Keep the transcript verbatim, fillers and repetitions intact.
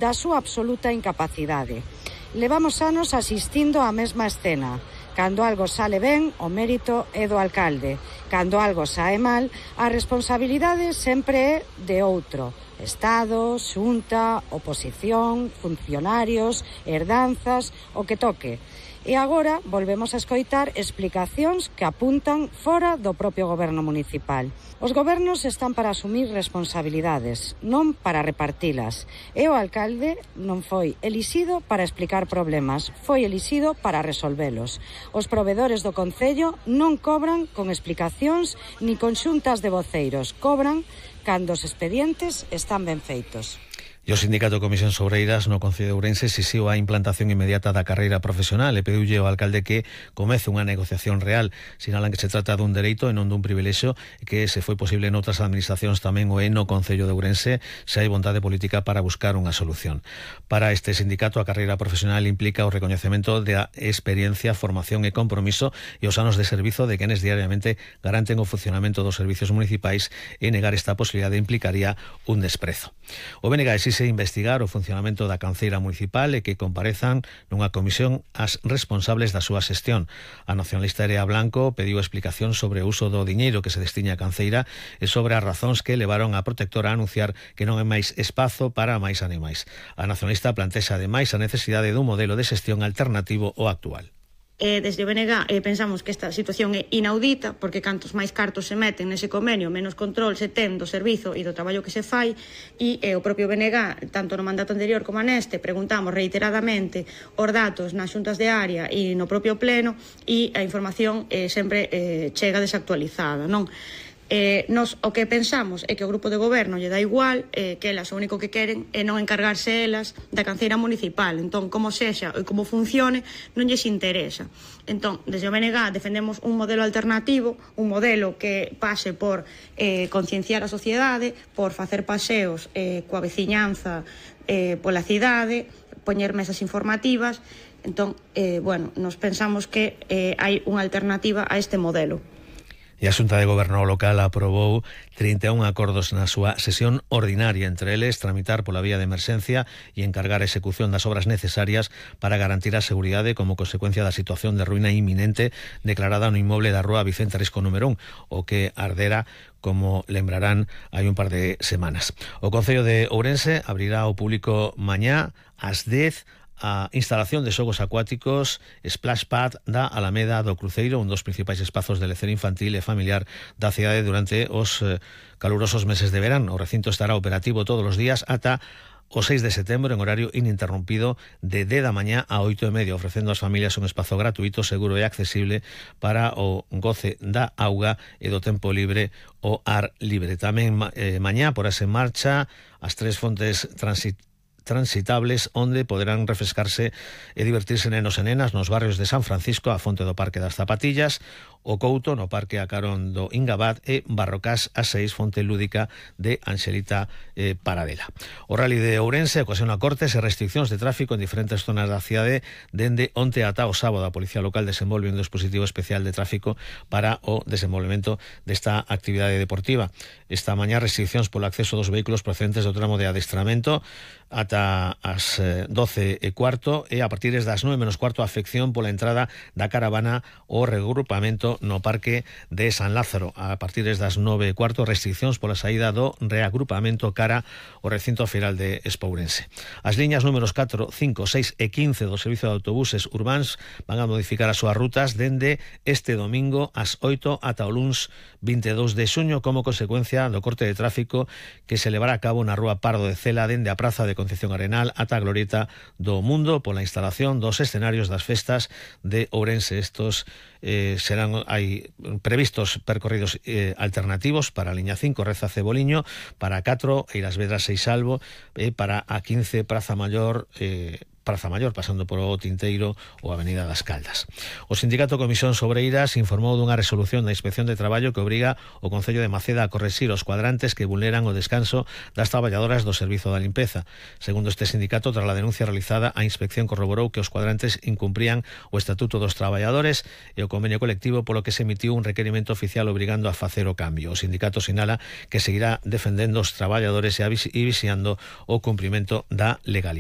da súa absoluta incapacidade. Levamos anos asistindo á mesma escena. Cando algo sale ben, o mérito é do alcalde. Cando algo sae mal, a responsabilidade sempre é de outro. Estado, xunta, oposición, funcionarios, herdanzas, o que toque. E agora volvemos a escoitar explicacións que apuntan fora do propio goberno municipal. Os gobernos están para asumir responsabilidades, non para repartilas. E o alcalde non foi elixido para explicar problemas, foi elixido para resolvelos. Os provedores do concello non cobran con explicacións ni con xuntas de voceiros, cobran cando os expedientes están ben feitos. E o Sindicato Comisións Obreiras no Concello de Ourense exixiu a implantación inmediata da carreira profesional e pediulle ao alcalde que comece unha negociación real. Sinalan que se trata dun dereito e non dun privilexio e que se foi posible en outras administracións tamén o é no Concello de Ourense se hai vontade política para buscar unha solución. Para este sindicato a carreira profesional implica o recoñecemento da experiencia, formación e compromiso e os anos de servizo de quenes diariamente garanten o funcionamento dos servicios municipais e negar esta posibilidade implicaría un desprezo. O B N G exixe investigar o funcionamento da canceira municipal e que comparezan nunha comisión as responsables da súa xestión. A nacionalista Erea Blanco pediu explicación sobre o uso do diñeiro que se destiña a canceira e sobre as razóns que levaron a protectora a anunciar que non hai máis espazo para máis animais. A nacionalista plantexa ademais a necesidade dun modelo de xestión alternativo ao actual. Eh, desde o B N G eh, pensamos que esta situación é inaudita porque cantos máis cartos se meten nese convenio, menos control se ten do servizo e do traballo que se fai e eh, o propio B N G, tanto no mandato anterior como neste, preguntamos reiteradamente os datos nas xuntas de área e no propio pleno e a información eh, sempre eh, chega desactualizada, non? Eh, nos o que pensamos é que o grupo de goberno lle dá igual, eh, que elas o único que queren é non encargarse elas da canceira municipal. Entón, como sexa e como funcione, non lles interesa. Entón, desde o B N G defendemos un modelo alternativo, un modelo que pase por eh, concienciar a sociedade, por facer paseos eh, coa veciñanza eh, pola cidade, poñer mesas informativas. Entón, eh, bueno, nos pensamos que eh, hai unha alternativa a este modelo. E a Xunta de Goberno local aprobou trinta e un acordos na súa sesión ordinaria, entre eles tramitar pola vía de emerxencia e encargar a execución das obras necesarias para garantir a seguridade como consecuencia da situación de ruína inminente declarada no inmoble da rúa Vicente Risco número un, o que ardera, como lembrarán, hai un par de semanas. O Concello de Ourense abrirá ao público mañá ás dez a instalación de xogos acuáticos Splash Pad da Alameda do Cruceiro, un dos principais espazos de lecer infantil e familiar da cidade durante os eh, calurosos meses de verán. O recinto estará operativo todos os días ata o seis de setembro en horario ininterrompido de dez da mañá a oito e media, ofrecendo ás familias un espazo gratuito, seguro e accesible para o goce da auga e do tempo libre ao ar libre. Tamén eh, mañá porase en marcha as tres fontes transit transitables onde poderán refrescarse e divertirse nenos e nenas nos barrios de San Francisco, a fonte do Parque das Zapatillas, o Couto no Parque a carón do Ingabad e Barrocás a seis, fonte lúdica de Anxelita eh, Paradela. O Rally de Ourense ocasiona cortes e restriccións de tráfico en diferentes zonas da cidade dende onte ata o sábado. A Policía Local desenvolve un dispositivo especial de tráfico para o desenvolvemento desta actividade deportiva. Esta mañá restriccións polo acceso dos vehículos procedentes do tramo de adestramento ata as doce e cuarto e a partir das nove menos cuarto a afección pola entrada da caravana o regrupamento no Parque de San Lázaro. A partir das nove e cuarto restriccións pola saída do reagrupamento cara ao recinto feiral de Espourense. As liñas números catro, cinco, seis e quince do servizo de autobuses urbáns van a modificar as súas rutas dende este domingo ás oito ata o luns vinte e dous de xuño como consecuencia do corte de tráfico que se levará a cabo na rúa Pardo de Cela dende a praza de Concepción Arenal ata a glorieta do Mundo pola instalación dos escenarios das festas de Ourense. Estos eh, serán hai previstos percorridos eh, alternativos para a liña cinco Reza Ceboliño, para a catro Eiras Vedras Seixalbo e para a quince Praza Maior eh, Praza Maior, pasando por o Tinteiro ou Avenida das Caldas. O Sindicato Comisión Obreiras informou dunha resolución da Inspección de Traballo que obriga o Concello de Maceda a correxir os cuadrantes que vulneran o descanso das traballadoras do Servizo da Limpeza. Segundo este sindicato, tras a denuncia realizada, a inspección corroborou que os cuadrantes incumprían o Estatuto dos Traballadores e o convenio colectivo, polo que se emitiu un requerimento oficial obrigando a facer o cambio. O sindicato sinala que seguirá defendendo os traballadores e vixiando o cumprimento da legalidade.